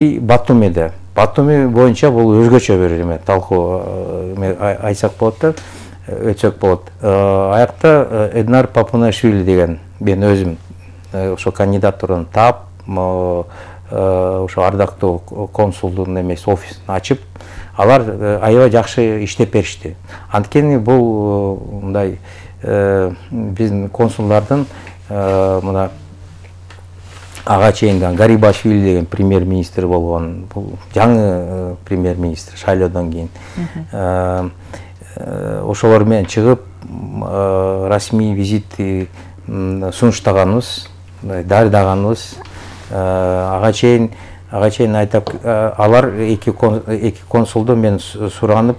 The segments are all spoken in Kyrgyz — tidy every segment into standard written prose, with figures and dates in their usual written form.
Батуми боюнча бул өзгөчө бир эме талкуу айтсак болот да, өтсөк болот. Аякта Эднар Папунашвили деген мен өзүм ошо кандидатураны таап, ошо ардактуу консулдун эмес офисин ачып, алар аябай жакшы иштеп беришти. Анткени бул мындай биздин консулдардын мына ага чейин Гарибашвили деген премьер-министр болгон, бул жаңы премьер-министр шайлоодон кийин. Ошолор менен чыгып расмий визит сунуштаганыбыз, дарыдаганыбыз. Ага чейин айтап, алар эки консулду мен суранып,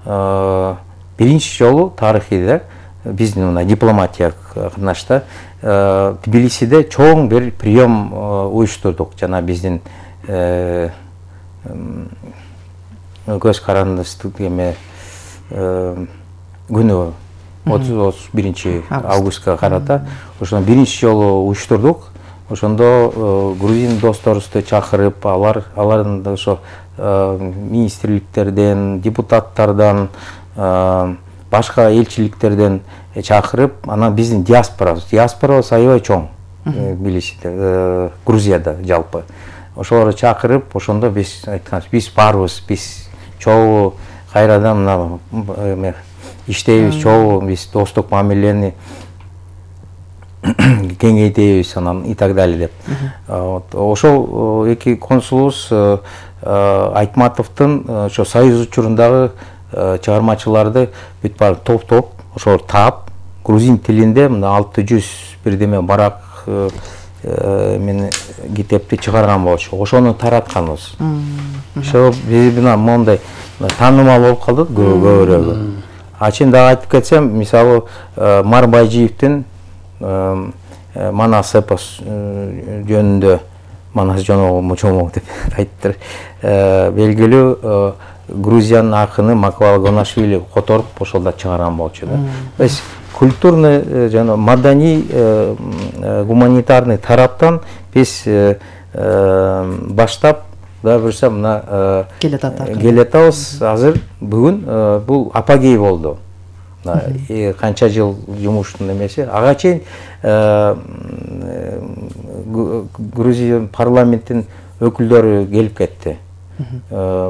биринчи жолу тарыхыйда биздин мына дипломатия катнашта Тбилисиде чоң бир прием уюштурдук. Жана биздин көз карандысыздык эме күнү 31 августка карата ошону биринчи жолу уюштурдук. Ошондо грузин досторубузду чакырып, алардын ошо министрликтерден, депутаттардан, башка элчиликтерден чакырып, анан биздин диаспорабыз аябай чоң Тбилисиде, Грузияда жалпы. Ошолорду чакырып, ошондо биз айтканбыз, биз барбыз, биз чогуу кайрадан мына иштейбиз, чогуу биз достук мамилени кеңейтебиз, анан и так далее деп. Ошол эки консулубуз Айтматовдун ошо союз учурундагы чыгармачыларды бүт баары топ ошолор таап, грузин тилинде мына 600 бирдеме барак мен китепти чыгарган болчу. Ошону таратканбыз. Ошо биз мына мондай таанымал болуп калдык көбүрөөгү. Ачын дагы айтып кетсем, мисалы Марбайжиевдин Манас эпос жөнүндө, Манас жономок деп айттыр, белгилүү Грузиянын акыны Маквал Гонашвили которуп ошолда чыгарган болчу да. Биз культурный жана маданий гуманитарный тараптан биз баштап да бурса мына келатабыз. Азыр бүгүн бул апогей болду. Канча жыл жумуштун эмеси. Ага чейин Грузия парламенттин өкүлдөрү келип кетти.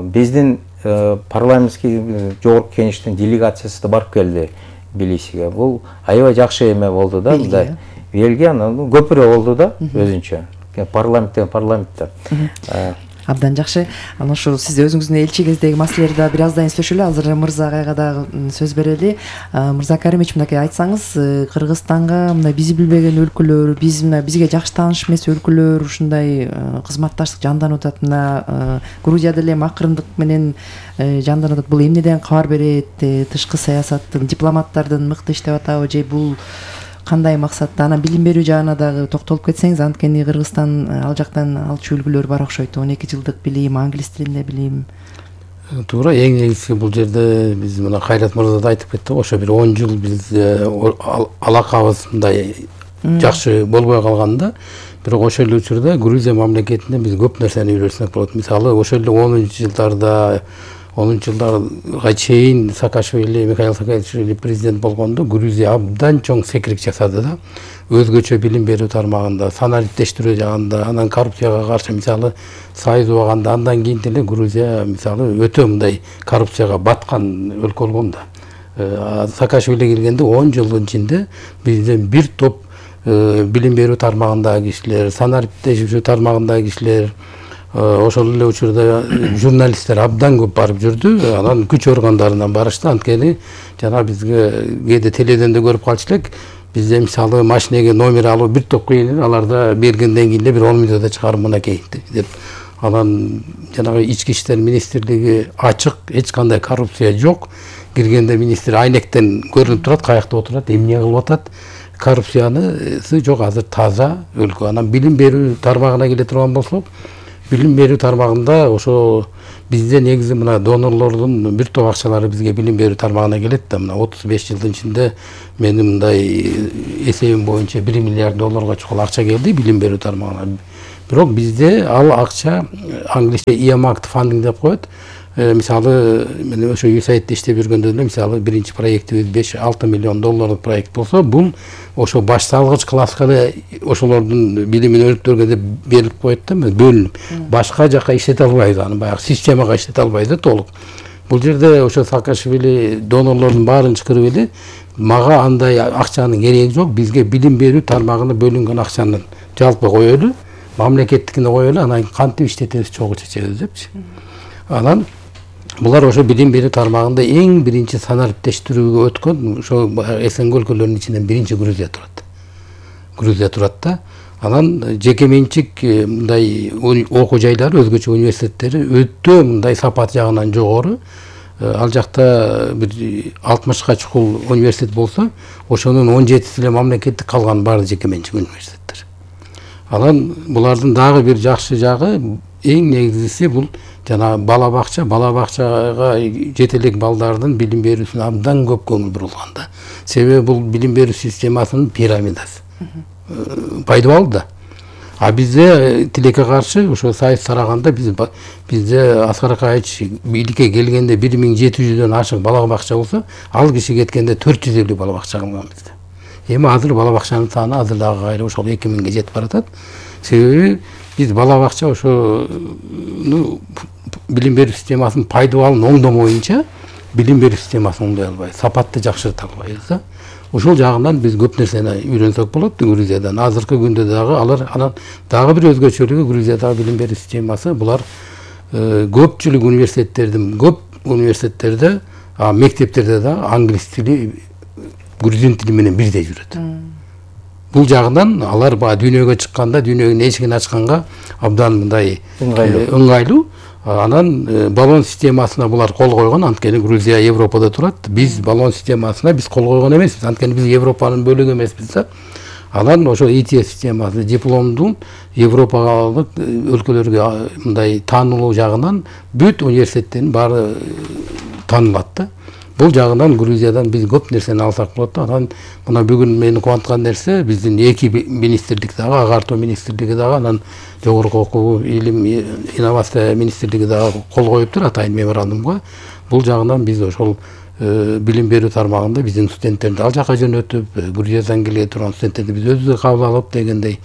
Биздин парламентский жогорку кеңештин делегациясы да барып келди Тбилисиге. Бул аябай жакшы эме болду да, мындай Бельгия, анан көпүрө болду да өзүнчө. Парламентте. Абдан жакшы. Анан ошо сиз өзүңүздүн элчи кездеги маселелерди да бир аздан сүйлөшөлү. Азыр Мырза агайга дагы сөз берели. Мырза Каримович, мынакей айтсаңыз, Кыргызстанга мына биз билбеген өлкөлөр, бизге жакшы тааныш эмес өлкөлөр ушундай кызматташтык жанданып атат. Мына Грузияда эле акырындык менен жанданып атат. Бул эмнеден кабар берет? Тышкы саясаттын, дипломаттардын мыкты иштеп атабы же бул кандай максатта? Анан билим берүү жагына дагы токтолуп кетсеңиз, анткени Кыргызстан ал жактан алчу үлгүлөр бар окшойт. 12 жылдык билим, англис тилинде билим. Туура, эң негизги бул жерде биз мына Кайрат мырза да айтып кетти, ошо бир 10 жыл биз алакабыз мындай жакшы болбой калганда, бирок ошол эле учурда Грузия мамлекетинен биз көп нерсени үйрөнсөк болот. Мисалы, ошол эле 10 жылдарга чейин Михаил Саакашвили президент болгондо Грузия абдан чоң секирик жасады да. Өзгөчө билим берүү тармагында, санариптештирүү жагында, анан коррупцияга каршы мисалы сайыз убаганда, андан кийин деле Грузия мисалы өтө мындай коррупцияга баткан өлкө болгон да. Саакашвили келгенде 10 жылдын ичинде бизден бир топ билим берүү тармагындагы кишилер, санариптештирүү тармагындагы кишилер, ошол эле учурда журналисттер абдан көп барып жүрдү. Анан күч органдарынан барышты. Анткени жана бизге кээде теледен да көрүп калчу элек. Бизде мисалы машинеге номер алуу бир топ кыйын, аларда бергенден кийин бир 10 мүнөттө чыгарып мынакей деп. Анан жанагы ички иштер министрлиги ачык, эч кандай коррупция жок. Киргенде министр айнектен көрүнүп турат, каякта отурат, эмне кылып атат. Коррупциянысы жок, азыр таза өлкө. Анан билим берүү тармагына келе турган болсок, билим берүү тармагында ошо бизде негизи мына донорлордун бир топ акчалары бизге билим берүү тармагына келет да. Мына 35 жылдын ичинде менин мындай эсебим боюнча $1 миллиард чукул акча келди билим берүү тармагына. Бирок бизде ал акча англисче earmarked funding деп коет. Мисалы мен ошо USAID иштеп жүргөндө эле мисалы биринчи проектибиз 5-6 миллион долларлык проект болсо, бул ошо баш салгыч класска эле ошолордун билимин өнүктөргө деп берилип коет да, бөлүнүп. Башка жака иштете албайбыз, аны баягы системага иштете албайбыз да толук. Бул жерде ошо Саакашвили донорлордун баарын чакырып эле мага андай акчанын кереги жок, бизге билим берүү тармагына бөлүнгөн акчаны жалпы коелу, мамлекеттикине коелу, анан кантип иштетебиз чогуу чечебиз депчи. Анан булар ошо билим берүү тармагында эң биринчи санариптештирүүгө өткөн ошо СНГ өлкөлөрүнүн ичинен биринчи Грузия турат. Грузия турат да. Анан жеке менчик мындай окуу жайлары, өзгөчө университеттери өтө мындай сапат жагынан жогору. Ал жакта бир 60ка чукул университет болсо, ошонун 17си эле мамлекеттик, калган баары жеке менчик университеттер. Анан булардын дагы бир жакшы жагы, эң негизгиси бул жана бала бакчага жете элек балдардын билим берүүсүнө абдан көп көңүл бурулган да. Себеби бул билим берүү системасынын пирамидасы. Пайдалуу да. А бизде тилекке каршы ошо сайыс тараганда бизде Аскар Акаевич бийликке келгенде 1700дөн ашык бала бакча болсо, ал киши кеткенде 450 бала бакча калган бизде. Эми азыр бала бакчанын саны азыр дагы кайра ошол 2000ге жетип баратат. Себеби биз бала бакча ошо билим берүү системасынын пайдалуулун оңдомоюнча билим берүү системасын оңдой албайбыз, сапатты жакшырта албайбыз да. Ошол жагынан биз көп нерсени үйрөнсөк болот Грузиядан. Азыркы күндө дагы анан дагы бир өзгөчөлүгү Грузиядагы билим берүү системасы, булар көпчүлүк университеттерде, мектептерде да англис тили, грузин тили менен бирдей жүрөт. Бул жагынан алар дүйнөгө чыкканда, дүйнөнүн эшигин ачканга абдан мындай ыңгайлуу. Анан баллон системасына булар кол койгон, анткени Грузия Европада турат. Биз баллон системасына биз кол койгон эмеспиз, анткени биз Европанын бөлүгү эмеспиз да. Анан ошо ITS системасы дипломдун европалык өлкөлөргө мындай таанылуу жагынан бүт университеттердин баары таанылат да. Бул жагынан Грузиядан биз көп нерсени алсак болот да. Анан мына бүгүн мени кубанткан нерсе, биздин эки министрлик дагы, агартуу министрлиги дагы, анан жогорку окуу, илим, инновация министрлиги дагы кол коюптур атайын меморандумга. Бул жагынан биз ошол билим берүү тармагында биздин студенттерди ал жака жөнөтүп, Грузиядан келе турган студенттерди биз өзүбүз кабыл алып дегендей,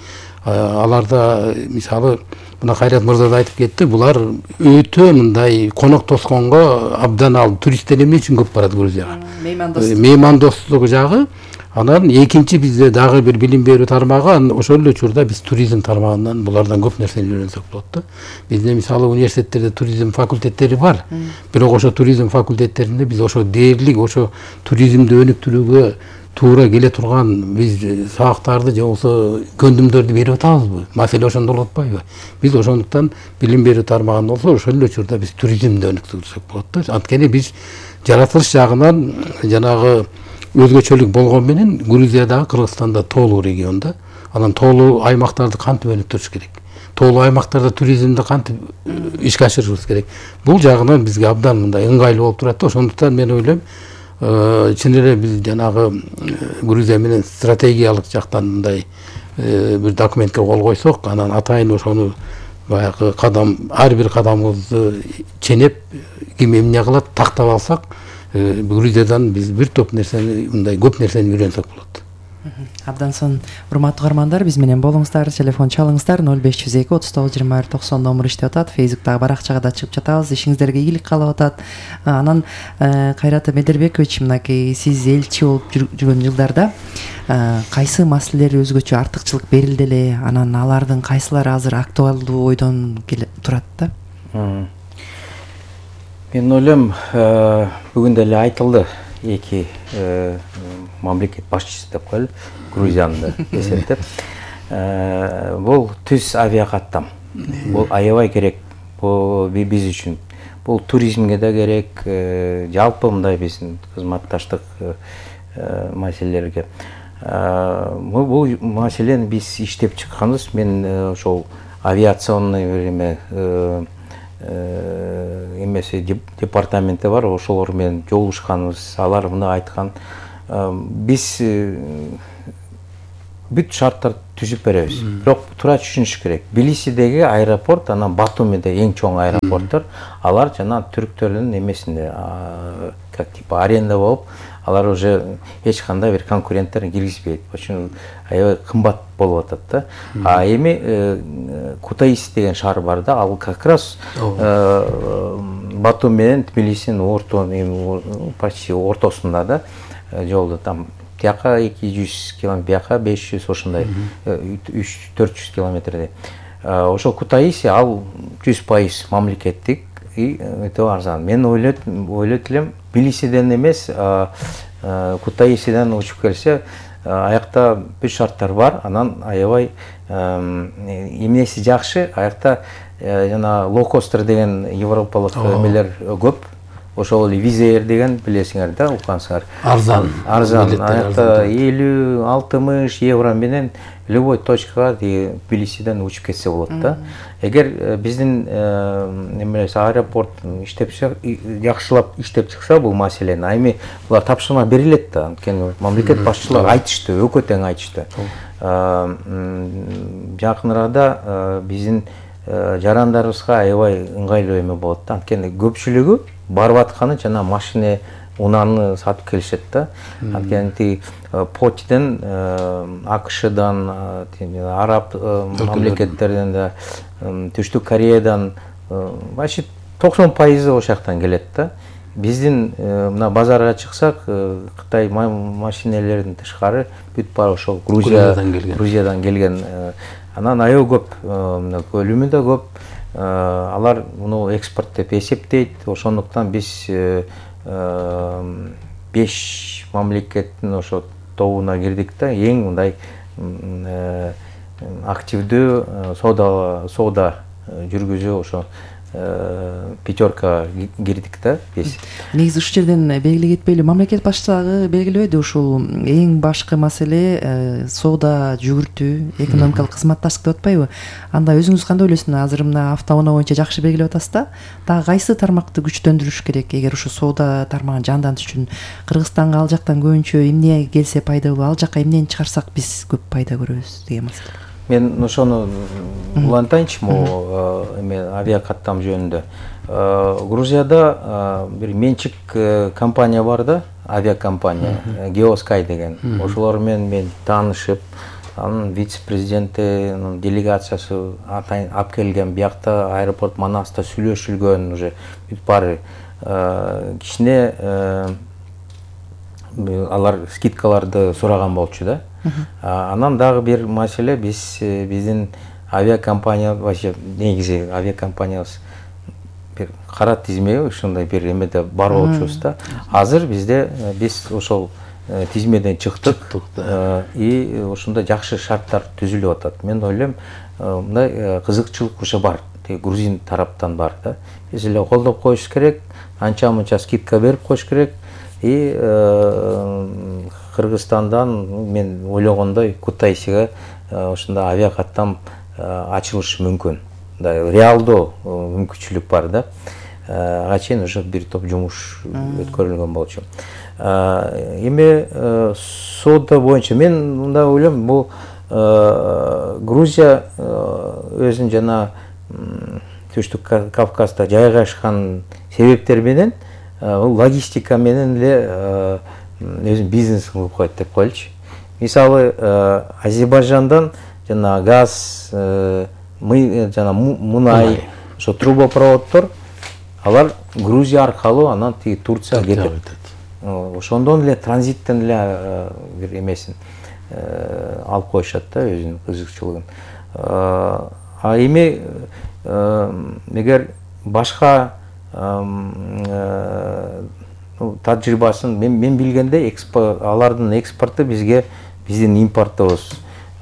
аларда мисалы мына Кайрат мырза да айтып кетти, булар өтө мындай конок тосконго абдан ал туристтер эмне үчүн көп барат Грузияга? Меймандостук жагы. Анан экинчи бизде дагы бир билим берүү тармагы, ошол эле учурда биз туризм тармагынан булардан көп нерсени үйрөнсөк болот да. Бизде мисалы университеттерде туризм факультеттери бар. Бирок ошо туризм факультеттеринде биз ошо дээрлик ошо туризмди өнүктүрүүгө туура келе турган биз сабактарды же болбосо көндүмдөрдү берип атабызбы? Маселе ошондо болуп атпайбы? Биз ошондуктан билим берүү тармагында болсо ошол эле учурда биз туризмди өнүктүрсөк болот да. Анткени биз жаратылыш жагынан жанагы өзгөчөлүк болгон менен Грузиядагы Кыргызстанда тоолуу регион да. Анан тоолуу аймактарды кантип өнүктүрүш керек? Тоолуу аймактарда туризмди кантип ишке ашырышыбыз керек? Бул жагынан бизге абдан мындай ыңгайлуу болуп турат да. Ошондуктан мен ойлойм, чын эле биз жанагы Грузия менен стратегиялык жактан мындай бир документке кол койсок, анан атайын ошону баягы ар бир кадамыбызды ченеп, ким эмне кылат тактап алсак, Грузиядан биз бир топ нерсени, мындай көп нерсени үйрөнсөк болот. Абдан сонун. Урматтуу каармандар, биз менен болуңуздар, телефон чалыңыздар, 0502 39 20 90 номер иштеп атат. Фейсбуктагы баракчага да чыгып жатабыз. Ишиңиздерге ийгилик каалап атат. Анан Кайрат Медербекович, мынакей сиз элчи болуп жүргөн жылдарда кайсы маселелер өзгөчө артыкчылык берилди эле, анан алардын кайсылары азыр актуалдуу ойдон келип турат да? Мен ойлойм, бүгүн деле айтылды, эки мамлекет башчысы деп коелу, Грузиянды эсептеп. Бул түз авиакаттам. Бул аябай керек биз үчүн. Бул туризмге да керек, жалпы мындай биздин кызматташтык маселелерге. Бул маселени биз иштеп чыкканбыз. Мен ошол авиационный время эмеси департаменти бар, ошолор менен жолугушканбыз. Алар мына айткан, биз бүт шарттарды түзүп беребиз. Бирок туура түшүнүш керек. Тбилисидеги аэропорт, анан Батумиде эң чоң аэропорттор, алар жана түрктөрдүн эмесинде, как типа аренда болуп, алар уже эч кандай бир конкуренттерин киргизбейт. Ошон аябай кымбат болуп атат да. А эми Кутаиси деген шаар бар да, ал как раз Батум менен Тбилисинин почти ортосунда да, жолдо там тияка 200 километр, бияка 500, ошондой 300-400 километрдей. Ошол Кутаиси ал 100% мамлекеттик и өтө арзан. Мен ойлойт элем Тбилисиден эмес, Кутаисиден учуп келсе, аякта бүт шарттар бар, анан аябай эмнеси жакшы, аякта жана лоукостер деген европалык эмелер көп. Ошол эле Wizz Air деген билесиңер да, уккансыңар. Арзан. Аякта 50-60 евро менен любой точкага Тбилисиден учуп кетсе болот да. Эгер биздин аэропорт жакшылап иштеп чыкса бул маселени, а эми булар тапшырма берилет да, анткени мамлекет башчылары айтышты, өкө тең айтышты. Жакын арада биздин жарандарыбызга аябай ыңгайлуу эме болот да, анткени көпчүлүгү барып атканы жана машина унааны сатып келишет да. Анткени Почтен, АКШдан, араб мамлекеттерден да, Түштүк Кореядан почти 90% ошол жактан келет да. Биздин мына базарга чыксак, Кытай машинелеринин тышкары бүт баары ошол Грузиядан келген. Анан аябай көп, көлүмү да көп. Алар муну экспорт деп эсептейт. Ошондуктан биз 5 мамлекеттин ошо тобуна кирдик да. Эң мындай активдүү соода жүргүзүү ошо пятерка кирдик да биз. Негизи ушул жерден белгилей кетпей эле мамлекет башчылыгы белгилебеди, ушул эң башкы маселе соода жүгүртүү, экономикалык кызматташтык деп атпайбы? Анда өзүңүз кандай ойлойсуз? Азыр мына автоунаа боюнча жакшы белгилеп атасыз да. Дагы кайсы тармакты күчтөндүрүш керек эгер ушу соода тармагын жандантыш үчүн? Кыргызстанга ал жактан көбүнчө эмне келсе пайдалуу, ал жака эмнени чыгарсак биз көп пайда көрөбүз деген маселе. Мен ошону улантайынчы, эме авиакаттам жөнүндө. Грузияда бир менчик компания бар да, авиакомпания, Geosky деген. Ошолор менен мен таанышып, анын вице-президенти, делегациясы алып келген, биякта аэропорт Манаста сүйлөшүлгөн, уже бүт баары кичине алар скидкаларды сураган болчу да. Анан дагы бир маселе, биздин авиакомпания, вообще негизи авиакомпаниябыз бир кара тизме, ушундай бир эмеде бар болчубуз да. Азыр биз ошол тизмеден чыктык и ошондой жакшы шарттар түзүлүп атат. Мен ойлойм, мындай кызыкчылык уже бар, грузин тараптан бар да. Биз эле колдоп коюш керек, анча-мынча скидка берип коюш керек. И Кыргызстандан мен ойлогондой Кутаисиге ошондой авиакаттам ачылышы мүмкүн. Реалдуу мүмкүнчүлүк бар да. Ага чейин уже бир топ жумуш өткөрүлгөн болчу. Эми соода боюнча мен мындай ойлойм, бул Грузия өзүнүн жана Түштүк Кавказда жайгашкан себептер менен логистика менен эле өзүн бизнесин кылып коет деп коелучу. Мисалы, Азербайжандан жана газ, жана мунай, ошо трубопроводдор, алар Грузия аркылуу анан Турцияга кетет. Ошондон эле транзиттен эле бир эмесин алып коюшат да, өзүнүн кызыкчылыгын. А эми эгер башка тажрыйбасын мен билгенде алардын экспорту бизге биздин импорттобуз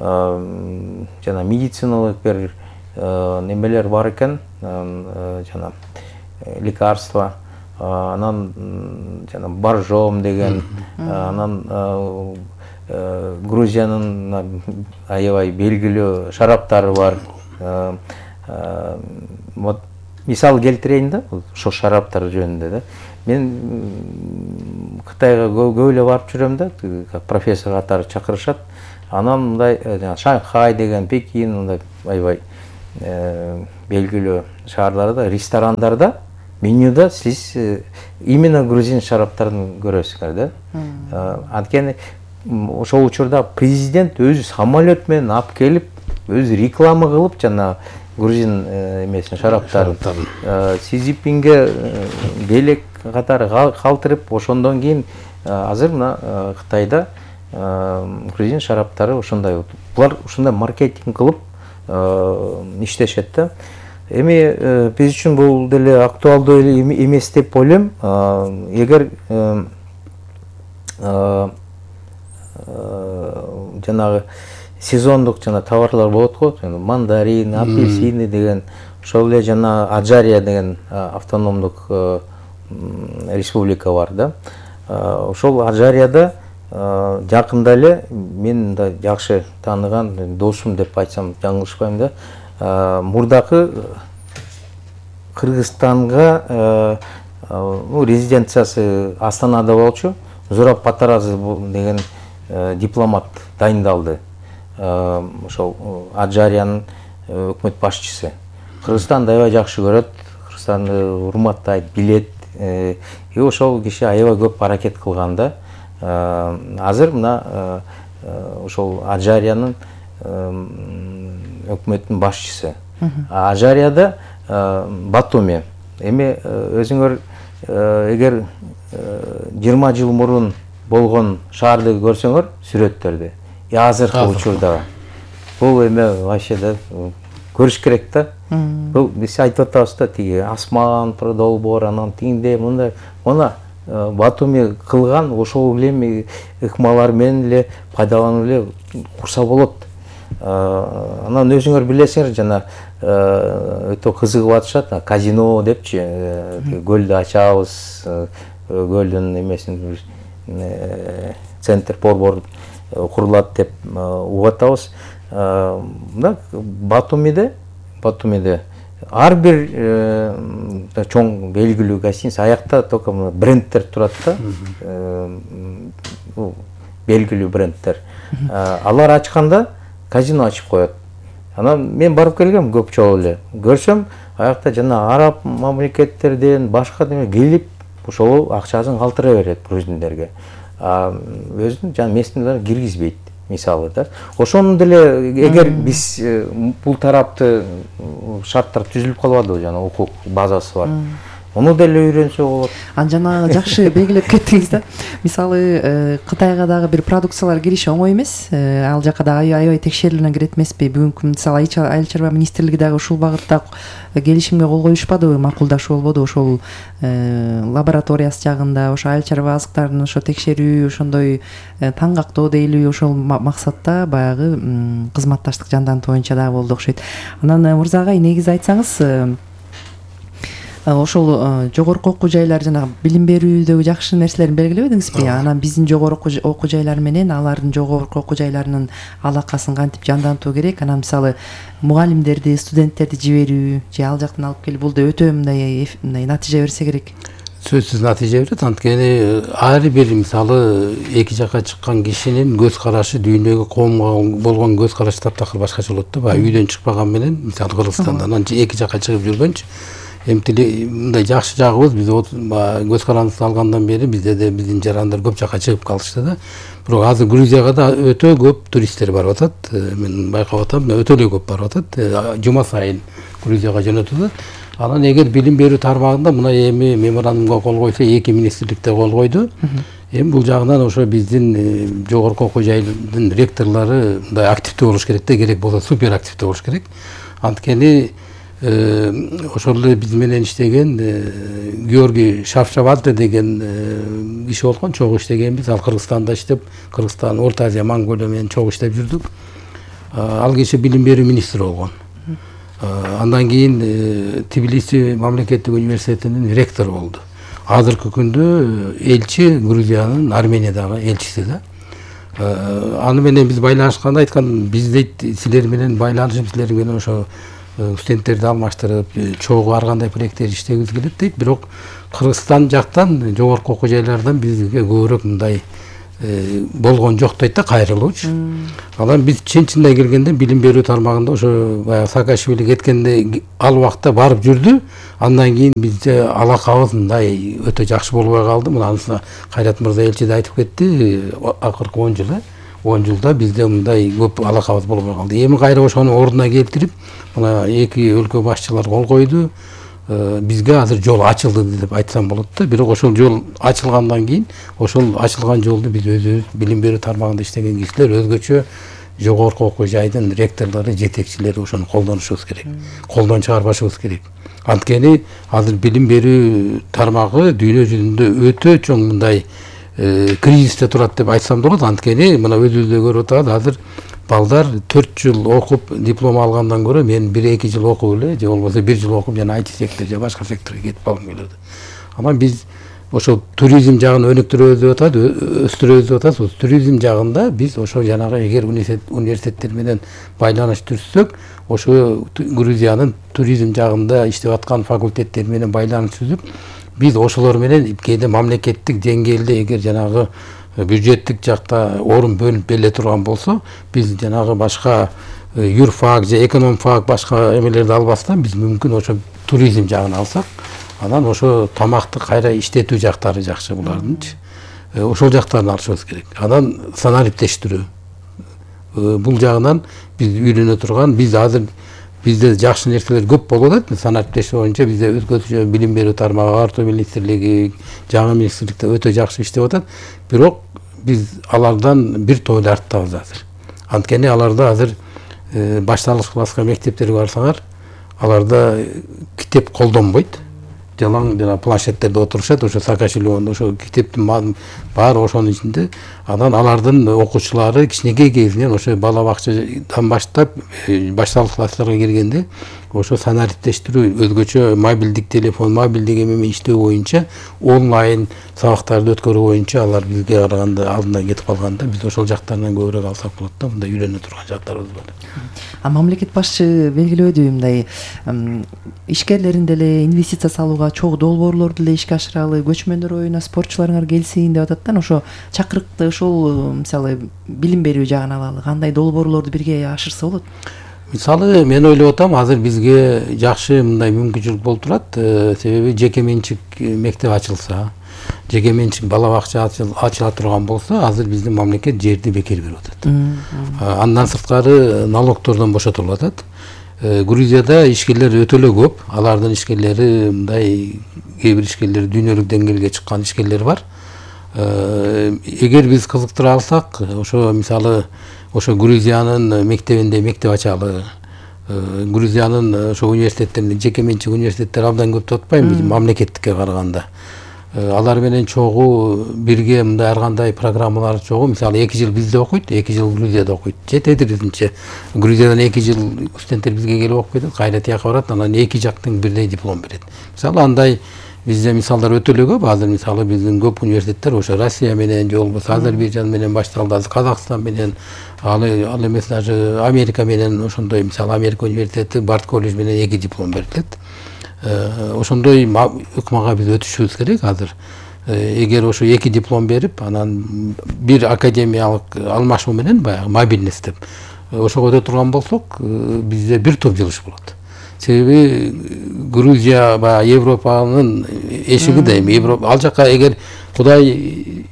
жана медициналык бир немелер бар экен, жана лекарства, анан жана боржом деген, анан Грузиянын аябай белгилүү шараптары бар. Мисал келтирейин да, ошо шараптар жөнүндө да. Мен Кытайга көп эле барып жүрөм да, профессор катары чакырышат. Анан мындай Шанхай деген, Пекин, мындай аябай белгилүү шаарларда, ресторандарда менюда сиз именно грузин шараптарын көрөсүңөр да. Анткени ошол учурда президент өзү самолет менен алып келип, өзү реклама кылып жана грузин эмесин шараптарын Си Цзиньпинге белек катары калтырып, ошондон кийин азыр мына Кытайда грузин шараптары ошондой. Булар ушундай маркетинг кылып иштешет да. Эми биз үчүн бул деле актуалдуу эмес деп ойлойм. Эгер жанагы сезондук жана товарлар болот го, мандарин, апельсины деген, ошол эле жана Аджария деген автономдук республика бар да. Ошол Аджарияда жакында эле мен да жакшы тааныган досум деп айтсам жаңылышпайм да, мурдакы Кыргызстанга резиденциясы Астанада болчу, Зураб Патаразы деген дипломат дайындалды. Ошол Аджариянын өкмөт башчысы. Кыргызстанды аябай жакшы көрөт, Кыргызстанды урматтайт, билет. И ошол киши аябай көп аракет кылган да. Азыр мына ошол Аджариянын өкмөттүн башчысы. Аджарияда Батуми. Эми өзүңөр эгер 20 жыл мурун болгон шаарды көрсөңөр сүрөттөрдү, азыркы учурда бул эме вообще да көрүш керек да. Бул биз айтып атабыз да, тиги асман, долбоор, анан тигинде мындай, мына Батуми кылган ошол эле ыкмалар менен эле пайдаланып эле курса болот. Анан өзүңөр билесиңер, жана өтө кызыгып атышат, казино депчи, көлдү ачабыз, көлдүн эмесин центр борбор курулат деп угуп атабыз. Мына Батумиде ар бир чоң белгилүү гостиница аякта только брендтер турат да, белгилүү брендтер. Алар ачканда казино ачып коет. Анан мен барып келгем көп жолу эле. Көрсөм, аякта жана араб мамлекеттерден башка деме келип, ошол акчасын калтыра берет грузиндерге. Өзүнүн жана местныйлар киргизбейт, мисалы да. Ошону деле эгер биз бул тарапты шарттар түзүлүп калбадыбы, жана укук базасы бар. Ону деле үйрөнсө болот. Жанагы жакшы белгилеп кеттиңиз да. Мисалы, Кытайга дагы бир продукциялар кириши оңой эмес. Ал жака дагы аябай текшерилген кирет эмеспи? Бүгүнкү мисалы Айыл чарба министрлиги дагы ушул багытта келишимге кол коюшпадыбы, макулдашуу болбоду? Ошол лабораториясы жагында, ошо айыл чарба азыктарын ошо текшерүү, ошондой таңгактоо дейлүү, ошол максатта баягы кызматташтык жандантуу боюнча дагы болду окшойт. Анан мырзагай, негизи айтсаңыз, ошол жогорку окуу жайлар жана билим берүүдөгү жакшы нерселерин белгилебедиңизби? Анан биздин жогорку окуу жайлар менен алардын жогорку окуу жайларынын алакасын кантип жандантуу керек? Анан мисалы мугалимдерди, студенттерди жиберүү же ал жактан алып келип, бул да өтө мындай натыйжа берсе керек. Сөзсүз натыйжа берет. Анткени ар бир мисалы эки жакка чыккан кишинин көз карашы, дүйнөгө, коомго болгон көз карашы таптакыр башкача болот да. Баягы үйдөн чыкпаган менен, мисалы Кыргызстанда анан эки жакка чыгып жүргөнчү эмтили мындай жакшы жагыбыз, биз көз карандыбызды алгандан бери бизде да биздин жарандар көп жакка чыгып калышты да. Бирок азыр Грузияга да өтө көп туристтер барып атат. Мен байкап атам, өтө эле көп барып атат. Жума сайын Грузияга жөнөтүлөт. Анан эгер билим берүү тармагында мына эми меморандумга кол койсо, эки министрликте кол койду. Эми бул жагынан ошо биздин жогорку окуу жайдын ректорлору мындай активдүү болуш керек да, керек болсо супер активдүү болуш керек. Анткени ошол эле биз менен иштеген Георгий Шавшавадзе деген киши болгон, чогуу иштегенбиз. Ал Кыргызстанда иштеп, Кыргызстан, Орто Азия, Монголия менен чогуу иштеп жүрдүк. Ал киши билим берүү министри болгон. Андан кийин Тбилиси мамлекеттик университетинин ректору болду. Азыркы күндө элчи, Грузиянын Армениядагы элчиси да. Аны менен биз байланышканда айткан, биз дейт силер менен байланышып, силер менен ошо студенттерди алмаштырып, чогуу ар кандай проекттер иштегибиз келет дейт. Бирок Кыргызстан жактан, жогорку окуу жайлардан бизге көбүрөөк мындай болгон жок дейт да, кайрылуучу. Анан биз чын-чындай келгенде билим берүү тармагында ошо баягы Саакашвили кеткенде ал убакта барып жүрдү. Андан кийин бизде алакабыз мындай өтө жакшы болбой калды. Мына анысы Кайрат мырза элчи да айтып кетти. Акыркы 10 жылда бизде мындай көп алакабыз болбой калды. Эми кайра ошону ордуна келтирип, мына эки өлкө башчылар кол койду. Бизге азыр жол ачылды деп айтсам болот да. Бирок ошол жол ачылгандан кийин ошол ачылган жолду биз өзүбүз билим берүү тармагында иштеген кишилер өзгөчө жогорку окуу жайдын ректорлору, жетекчилери ошону колдонушубуз керек. Колдон чыгарбашыбыз керек. Анткени азыр билим берүү тармагы дүйнө жүзүндө өтө чоң мындай кризисте турат деп айтсам болот. Анткени мына өзүбүз да көрүп атабыз, азыр балдар 4 жыл окуп диплом алгандан көрө мен 1-2 жыл окуп эле же болбосо 1 жыл окуп жана IT сектор же башка секторго кетип алгым келет. Анан биз ошол туризм жагын өнүктүрөбүз деп атат, өстүрөбүз деп атабыз. Туризм жагында биз ошо жанагы эгер университеттер менен байланыш түзсөк, ошо Грузиянын туризм жагында иштеп аткан факультеттер менен байланыш түзүп, биз ошолор менен кээде мамлекеттик деңгээлде эгер жанагы бюджеттик жакта орун бөлүнүп бериле турган болсо, биз жанагы башка юрфак же экономфак башка эмелерди албастан биз мүмкүн ошо туризм жагын алсак, анан ошо тамакты кайра иштетүү жактары жакшы булардынчы. Ошол жактарын алышыбыз керек. Анан санариптештирүү. Бул жагынан биз үйрөнө турган, биз азыр бизде жакшы нерселер көп болуп атат. Санариптештирүү боюнча бизде өзгөчө билим берүү тармагы, агартуу министрлиги, жаңы министрликте өтө жакшы иштеп атат. Бирок биз алардан бир тойлы арттабыз азыр. Анткени аларда азыр башталгыч класска мектептерге барсаңар, аларда китеп колдонбойт. Жалаң жана планшеттерде отурушат, ошо Саакашвили ошо китептин баары ошонун ичинде. Анан алардын окуучулары кичинекей кезинен ошо бала бакчадан баштап башталгыч класстарга киргенде ошо санариптештирүү, өзгөчө мобилдик телефон, мобилдик эме иштөө боюнча, онлайн сабактарды өткөрүү боюнча алар бизге караганда алдынан кетип калганда, биз ошол жактарынан көбүрөөк алсак болот да, мындай үйрөнө турган жактарыбыз бар. Мамлекет башчы белгилөөдү мындай ишкерлерин деле инвестиция салууга чогуу долбоорлорду деле ишке ашыралы, көчмөндөр оюна спортчуларыңар келсин деп атат да. Ошо чакырыкты ошол мисалы билим берүү жагын алалы, кандай долбоорлорду бирге ашырса болот? Мисалы мен ойлоп атам, азыр бизге жакшы мындай мүмкүнчүлүк болуп турат. Себеби жеке менчик мектеп ачылса, жеке менчик бала бакча ачыла турган болсо, азыр биздин мамлекет жерди бекер берип атат. Андан сырткары налогтордон бошотулуп атат. Грузияда ишкерлер өтө эле көп. Алардын ишкерлери мындай кээ бир ишкерлер дүйнөлүк деңгээлге чыккан ишкерлер бар. Эгер биз кызыктыра алсак, ошо мисалы ошо Грузиянын мектебинде мектеп ачалы, Грузиянын ошо университеттеринде, жеке менчик университеттер абдан көп деп атпайм, мамлекеттикке караганда. Алар менен чогуу бирге мындай ар кандай программалар чогуу, мисалы 2 жыл бизде окуйт, 2 жыл Грузияда окуйт. Жетеди бизинче. Грузиядан 2 жыл студенттер бизге келип окуп кетет, кайра тияка барат, анан 2 жактын бирдей диплом берет. Мисалы андай бизде мисалдар өтө эле көп. Азыр мисалы биздин көп университеттер ошо Россия менен же болбосо Азербайжан менен башталды, азыр Казакстан менен, ал эмес даже Америка менен ошондой, мисалы Америка университети Барт колледж менен 2 диплом берилет. Ошондой ыкмага биз өтүшүбүз керек азыр. Эгер ошо 2 диплом берип, анан бир академиялык алмашуу менен баягы мобильность деп ошого өтө турган болсок, бизде бир топ жылыш болот. Себеби Грузия баягы Европанын эшиги да эми. Ал жака эгер Кудай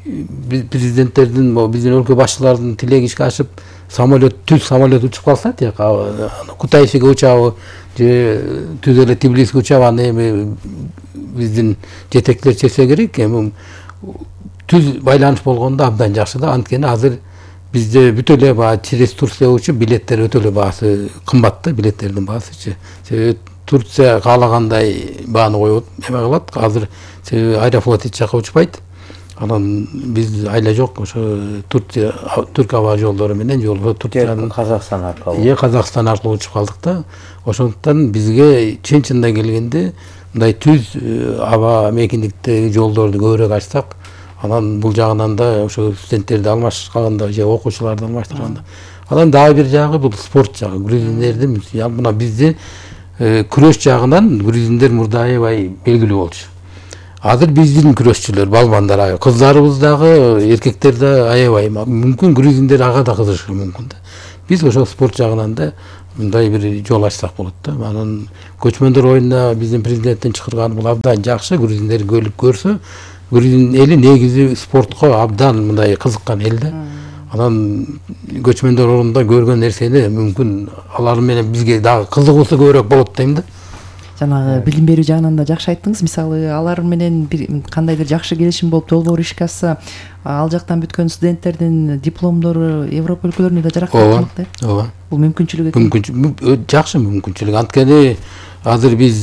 президенттердин, биздин өлкө башчылардын тилеги ишке ашып, түз самолет учуп калса, тияка Кутайсиге учабы же түз эле Тбилисиге учабаны эми биздин жетекчилер чечсе керек. Эми түз байланыш болгондо абдан жакшы да. Анткени азыр бизде бүт эле баягы через Турция учуп билеттер өтө эле баасы кымбат да, билеттердин баасычы. Себеби Турция каалагандай бааны коюп эме кылат. Азыр себеби Аэрофлот эч жака учпайт. Анан биз айла жок ошо Турция түрк аба жолдору менен же болбосо Турциянын Казакстан аркылуу. Казакстан аркылуу учуп калдык да. Ошондуктан бизге чын-чынында келгенде мындай түз аба мекендиктеги жолдорду көбүрөөк ачсак, анан бул жагынан да ошо студенттерди алмашканда же окуучуларды алмаштырганда. Анан дагы бир жагы бул спорт жагы. Грузиндердин мына бизде күрөш жагынан грузиндер мурда аябай белгилүү болчу. Азыр биздин күрөшчүлөр, балбандар, кыздарыбыз дагы, эркектер да аябай. Мүмкүн грузиндер ага да кызыгышы мүмкүн да. Биз ошол спорт жагынан да мындай бир жол ачсак болот да. Анан көчмөндөр оюнуна биздин президенттин чакырганы бул абдан жакшы. Грузиндер келип көрсө, грузин эли негизи спортко абдан мындай кызыккан эл да. Анан көчмөндөр оюнунда көргөн нерсени мүмкүн алар менен бизге дагы кызыгуусу көбүрөөк болот дейм да. Жанагы билим берүү жагынан да жакшы айттыңыз. Мисалы, алар менен кандайдыр жакшы келишим болуп, долбоор ишке ашса, ал жактан бүткөн студенттердин дипломдору Европа өлкөлөрүнө да жарактырмак да. Ооба. Бул мүмкүнчүлүк экен. Жакшы мүмкүнчүлүк. Анткени азыр биз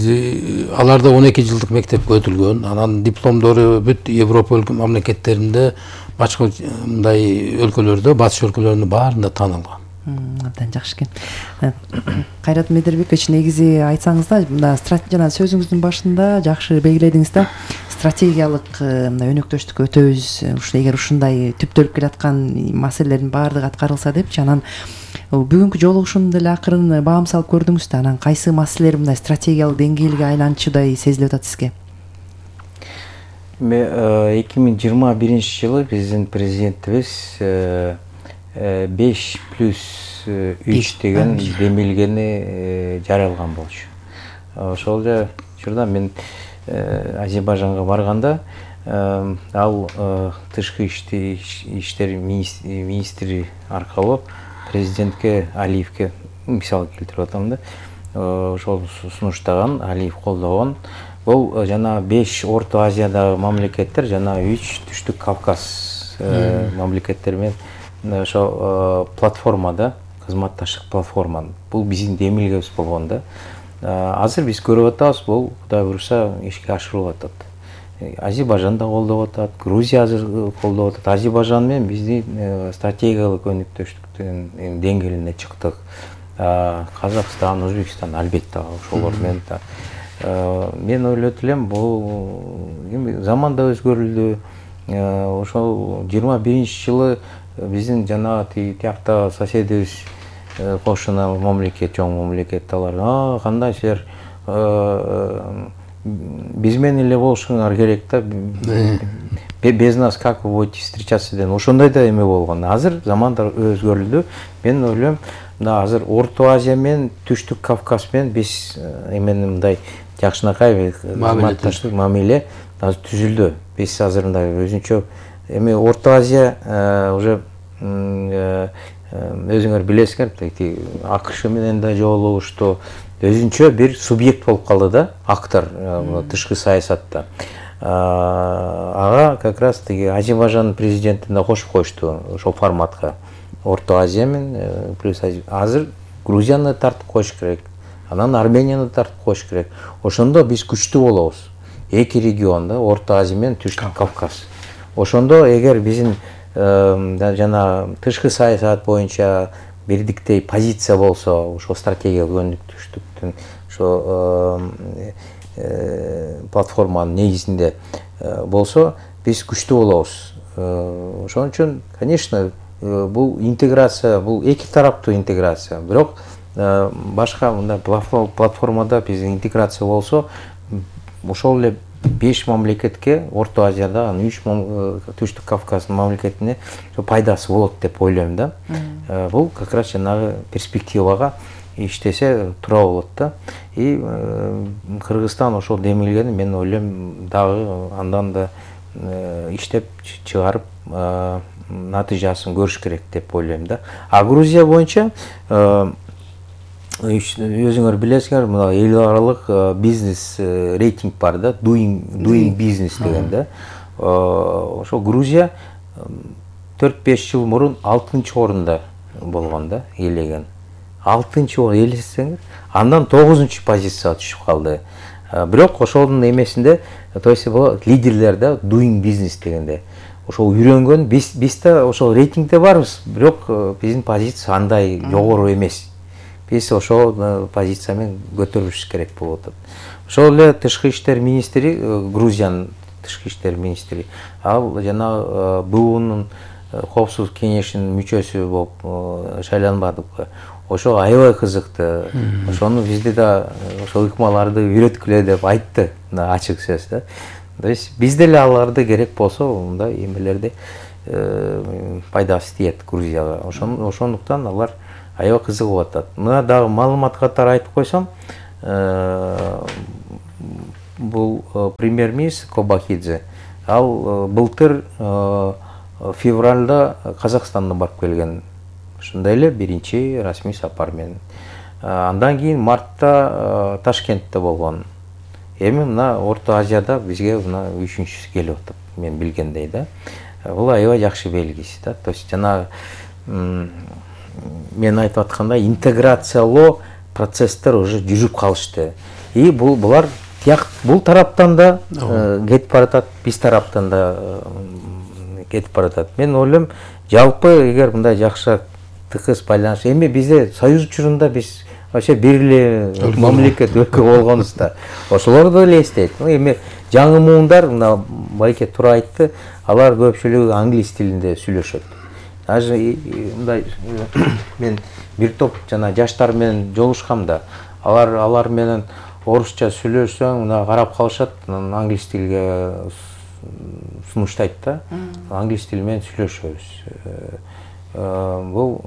аларда 12 жылдык мектепке өтүлгөн. Анан дипломдору бүт Европа мамлекеттеринде, башка мындай өлкөлөрдө, батыш өлкөлөрүнүн баарында таанылган. Абдан жакшы экен. Кайрат Медербекович, негизи айтсаңыз да, мында жана сөзүңүздүн башында жакшы белгиледиңиз да, стратегиялык мына өнөктөштүккө өтөбүз. Эгер ушундай түптөлүп келаткан маселелердин баардыгы аткарылса депчи, анан бүгүнкү жолугушууну деле акырын баам салып көрдүңүз да, анан кайсы маселелер мындай стратегиялык деңгээлге айланчудай сезилип атат сизге? 2021 жылы биздин президентибиз 5+3 деген демилгени жарыялган болчу. Ошол учурда мен Азербайжанга барганда, ал тышкы иштер министри аркылуу президентке Алиевке мисал келтирип атам да. Ошол сунуштаган, Алиев колдогон. Бул жана 5 Орто Азиядагы мамлекеттер, жана 3 Түштүк Кавказ мамлекеттери менен ошо платформада, кызматташтык платформа. Бул биздин демилгебиз болгон да. Азыр биз көрүп атабыз, бул Кудай буюрса ишке ашырылып атат. Азербайжан да колдоп атат, Грузия азыр колдоп атат. Азербайжан менен биздин стратегиялык өнөктөштүктүн деңгээлине чыктык. Казакстан, Өзбекстан албетте ошолор менен да. Мен ойлойт элем, бул заман да өзгөрүлдү. Ошол 21 жылы биздин жана тиякта соседибиз кошуна мамлекет, чоң мамлекет, алар кандай силер биз менен эле болушуңар керек да, без нас как вы будете встречаться деген ошондой да эме болгон. Азыр замандар өзгөрүлдү. Мен ойлойм, мына азыр Орто Азия менен Түштүк Кавказ менен биз эмени мындай жакшынакай мамиле азыр түзүлдү. Биз азыр мындай өзүнчө эми Орто Азия уже өзүңөр билесиңер, АКШ менен да жолугушту, өзүнчө бир субъект болуп калды да, актор тышкы саясатта. Ага как раз тиги Азербайжан президентин да кошуп коюшту ошол форматка. Орто Азия менен плюс азыр Грузияны тартып коюш керек, анан Арменияны тартып коюш керек. Ошондо биз күчтүү болобуз. Эки регионда, Орто Азия менен Түштүк Кавказ. Ошондо эгер биздин жана тышкы саясат боюнча бирдиктей позиция болсо, ошо стратегиялык өнөктөштүктүн ошо платформанын негизинде болсо, биз күчтүү болобуз. Ошон үчүн, конечно, бул интеграция, бул эки тараптуу интеграция. Бирок башка мындай платформада биз интеграция болсо, ошол эле 5 мамлекетке, Орто Азияда, 3 Түштүк Кавказдын мамлекетине пайдасы болот деп ойлойм да. Бул как раз жанагы перспективага иштесе туура болот да. И Кыргызстан ошол демилгени мен ойлойм дагы андан да иштеп чыгарып натыйжасын көрүш керек деп ойлойм да. А Грузия боюнча өзүңөр билесиңер, мына эл аралык бизнес рейтинг бар да, doing business деген да. Ошо Грузия 4-5 жыл мурун 6-орунда болгон да, ээлеген. 6-орун ээлесеңер, андан 9-позицияга түшүп калды. Бирок ошонун эмесинде, то есть лидерлер да, doing business дегенде. Ошол үйрөнгөн, биз да ошол рейтингде барбыз, бирок биздин позиция андай жогору эмес. Биз ошол позиция менен көтөрүлүш керек болуп атат. Ошол эле тышкы иштер министри, Грузиянын тышкы иштер министри, ал жана БУнун коопсуздук кеңешинин мүчөсү болуп шайланбадыбы. Ошо аябай кызыктуу. Ошону бизде да ошол ыкмаларды үйрөткүлө деп айтты, ачык сөз да. То есть биз деле аларды керек болсо мындай эмелерди пайдасы тиет Грузияга. Ошондуктан алар аябай кызыгып атат. Мына дагы маалымат катары айтып койсом, бул премьер-министр Кобахидзе ал былтыр февралда Казакстанда барып келген. Ушундай эле биринчи расмий сапар менен. Андан кийин мартта Ташкентте болгон. Эми мына Орто Азияда бизге мына үчүнчүсү келип атат, мен билгендей да. Бул аябай жакшы белгиси да. То есть жана мен айтып аткандай интеграциялоо процесстер уже жүрүп калышты. И булар бул тараптан да кетип баратат, биз тараптан да кетип баратат. Мен ойлойм, жалпы эгер мындай жакшы тыкыз байланыш, эми бизде союз учурунда биз вообще бир эле мамлекет өлкө болгонбуз да. Ошолорду эле эстейт. Эми жаңы муундар, мына Байке туура айтты, алар көпчүлүгү англис тилинде сүйлөшөт. Даже мындай мен бир топ жана жаштар менен жолугушкам да, алар менен орусча сүйлөшсөң, мына карап калышат, англис тилге сунуштайт да. Англис тили менен сүйлөшөбүз. Бул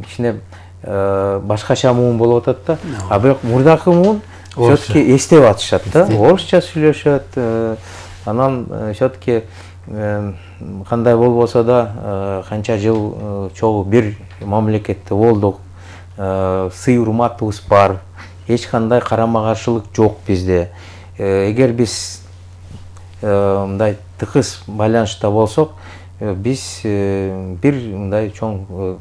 кичине башкача муун болуп атат да. А бирок мурдакы муун все-таки эстеп атышат да. Орусча сүйлөшөт. Анан все-таки кандай болбосо да канча жыл чогуу бир мамлекетте болдук. Сый урматыбыз бар. Эч кандай карама каршылык жок бизде. Эгер биз мындай тыкыз байланышта болсок, биз бир мындай чоң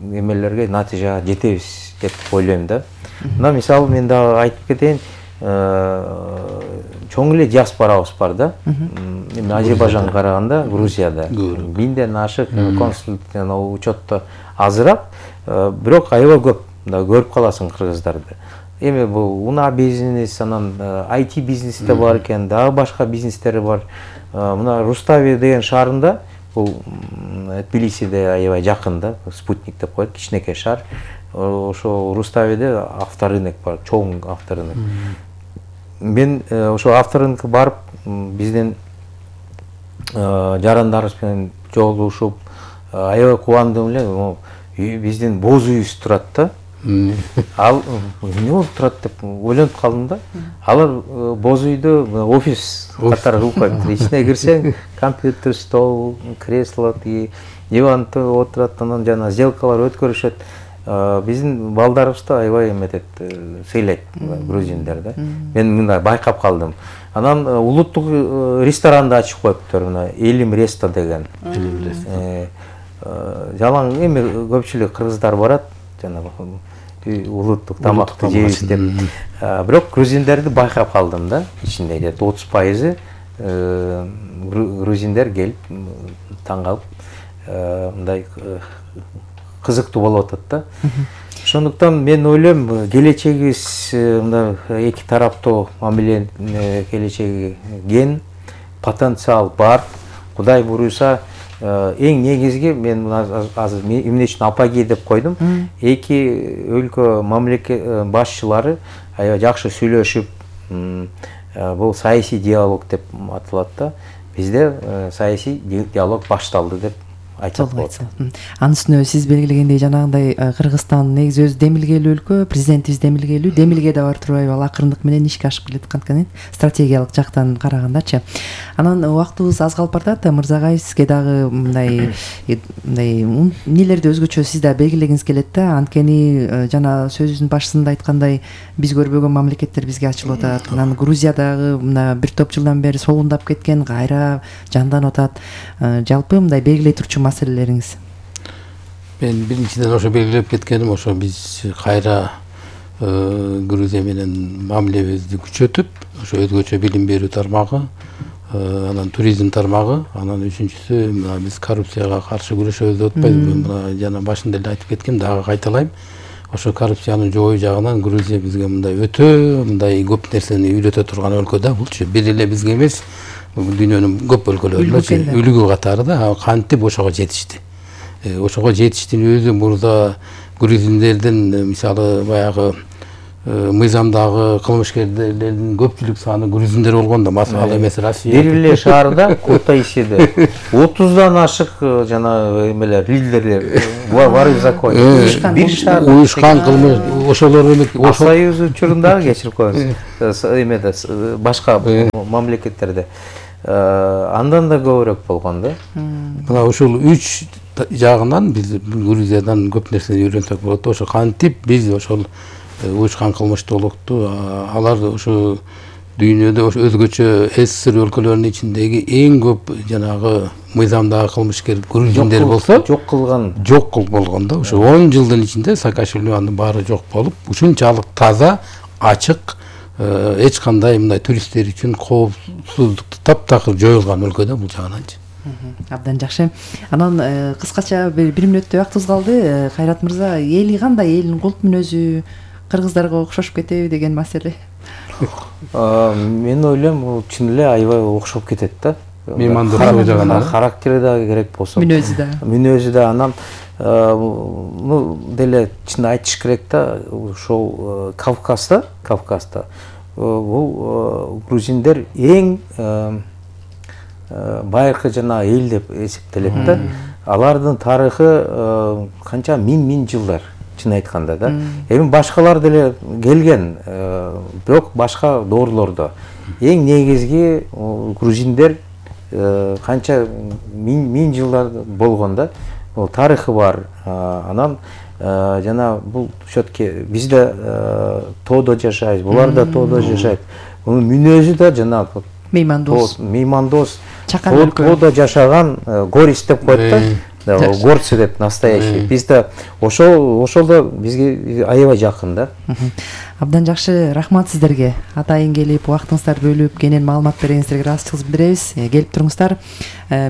эмелерге, натыйжага жетебиз деп ойлойм да. Мына мисалы мен дагы айтып кетейин, чоң эле диаспорабыз бар да. Эми Азербайжанга караганда Грузияда 1000ден ашык консулдук учетто азыраак, бирок аябай көп көрүп каласың кыргыздарды. Эми бул уна бизнес, анан IT бизнеси да бар экен, дагы башка бизнестери бар. Мына Рустави деген шаарында, бул Тбилисиде аябай жакын да, спутник деп коет, кичинекей шаар. Ошо Руставиде авторынок бар, чоң авторынок. Мен ошо авторынокко барып, биздин жарандарыбыз менен жолугушуп, аябай кубандым эле. Биздин боз үйүбүз турат да. Ал эмне болуп турат деп ойлонуп калдым да. Алар боз үйдө офис катары кылып коюптур. Ичине кирсең, компьютер, стол, кресло, диван отурат, анан жана сделкалар өткөрүшөт. Биздин балдарыбызды аябай эметет, сыйлайт грузиндер да. Мен мындай байкап калдым. Анан улуттук ресторанды ачып коюптур, мына Элим Ресто деген. Жалаң эми көпчүлүк кыргыздар барат, жана улуттук тамакты жейбиз деп. Бирок грузиндерди байкап калдым да, ичинде 30% грузиндер келип таң калып, мындай кызыктуу болуп атат да. Ошондуктан мен ойлойм, келечегибиз мына эки тараптуу мамиле келечеги кен, потенциал бар. Кудай буюрса, эң негизги мен азыр эмне үчүн апаги деп койдум. Эки өлкө мамлекет башчылары аябай жакшы сүйлөшүп, бул саясий диалог деп аталат да. Бизде саясий диалог башталды деп айтсак болот. Анын үстүнө сиз белгилегендей жанагындай Кыргызстан негизи өзү демилгелүү өлкө, президентибиз демилгелүү, демилге да бар турбайбы, ал акырындык менен ишке ашып келаткан стратегиялык жактан карагандачы. Анан убактыбыз аз калып баратат, Мырзагай, сизге дагы мындай эмнелерди өзгөчө сиз да белгилегиңиз келет да. Анткени жана сөзүбүздүн башында айткандай, биз көрбөгөн мамлекеттер бизге ачылып атат. Анан Грузиядагы мына бир топ жылдан бери солундап кеткен кайра жанданып атат. Жалпы мындай белгилей турчу маселелериңиз? Мен биринчиден ошо белгилеп кеткеним, ошо биз кайра Грузия менен мамилебизди күчөтүп, ошо өзгөчө билим берүү тармагы, анан туризм тармагы, анан үчүнчүсү мына биз коррупцияга каршы күрөшөбүз деп атпайбызбы? Мына жана башында эле айтып кеткем, дагы кайталайм. Ошо коррупцияны жоюу жагынан Грузия бизге мындай өтө мындай көп нерсени үйрөтө турган өлкө да. Булчу бир эле бизге эмес, дүйнөнүн көп өлкөлөрүндө үлгү катары да, кантип ошого жетишти. Ошого жетиштин өзү мурда грузиндердин мисалы баягы мыйзамдагы кылмышкерлердин көпчүлүк саны грузиндер болгон да, ал эмес Россия. Дериле шаарда Кутайсиде 30дан ашык жана эмелер лидерлер бар в законе. Бир шаар уюшкан кылмыш ошолор эме Союз учурундагы кечирип коюңуз. Эмеде башка мамлекеттерде андан да көбүрөөк болгон да. Мына ушул 3 жагынан биз Грузиядан көп нерсени үйрөнсөк болот. Ошо кантип биз ошол уюшкан кылмыштуулукту алар ушу дүйнөдө өзгөчө СССР өлкөлөрүнүн ичиндеги эң көп жанагы мыйзамдагы кылмыскер грузиндер болсо жок кылган болгон да. Ушу 10 жылдын ичинде Саакашвили анын баары жок болуп, ушунчалык таза, ачык, эч кандай мындай туристтер үчүн коопсуздукту таптакыр жоюлган өлкө да бул жагынанчы. Абдан жакшы. Анан кыскача бир мүнөттөй убактыбыз калды. Кайрат мырза, эли кандай, элдин култ мүнөзү кыргыздарга окшошуп кетеби деген маселе? Мен ойлойм, бул чын эле аябай окшоп кетет да. Меймандуулугу жагынан характери да керек болсо. Мүнөзү да. Анан деле чын айтыш керек да, ошол Кавказда бул грузиндер эң байыркы жана эл деп эсептелет да. Алардын тарыхы канча миң жылдар, чын айтканда да. Эми башкалар деле келген, бирок башка доорлордо. Эң негизги грузиндер канча миң жылдар болгон да. Ол тарыхы бар. Анан жана бул все-таки бизде тоодо жашайбыз, булар да тоодо жашайт. Мунун мүнөзү да жана меймандос. Тоодо жашаган горист деп коет да. Горцы деп, настоящий. Бизде ошолдо бизге аябай жакын да. Абдан жакшы, рахмат сиздерге. Атайын келип, убактыңыздарды бөлүп, кенен маалымат бергениңиздерге ыраазычылык билдиребиз. Келип туруңуздар.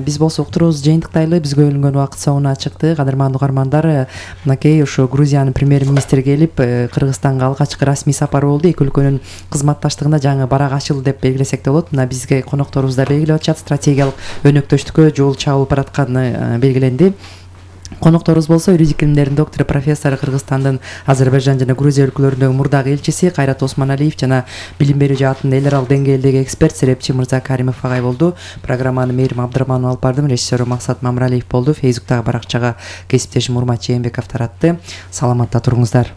Биз болсо уктуруубуз жыйынтыктайлы, бизге бөлүнгөн убакыт соңуна чыкты. Кадырман угармандар, мынакей ушу Грузиянын премьер-министри келип, Кыргызстанга алгачкы расмий сапары болду. Эки өлкөнүн кызматташтыгында жаңы барак ачылды деп белгилесек да болот. Мына бизге конокторубуз да белгилеп атышат, стратегиялык өнөктөштүккө жол чабылып баратканы белгиленди. Конокторубуз болсо юридик илимдердин доктору, профессор, Кыргызстандын Азербайжан жана Грузия өлкөлөрүндөгү мурдагы элчиси Кайрат Осмоналиев жана билим берүү жаатында эл аралык деңгээлдеги эксперт серепчи Мырза Каримов агай болду. Программаны Мээрим Абдрахманова алып бардым, режиссеру Максат Мамралиев болду. Фейсбуктагы баракчага кесиптешим Урмат Жээнбеков таратты. Саламатта туруңуздар.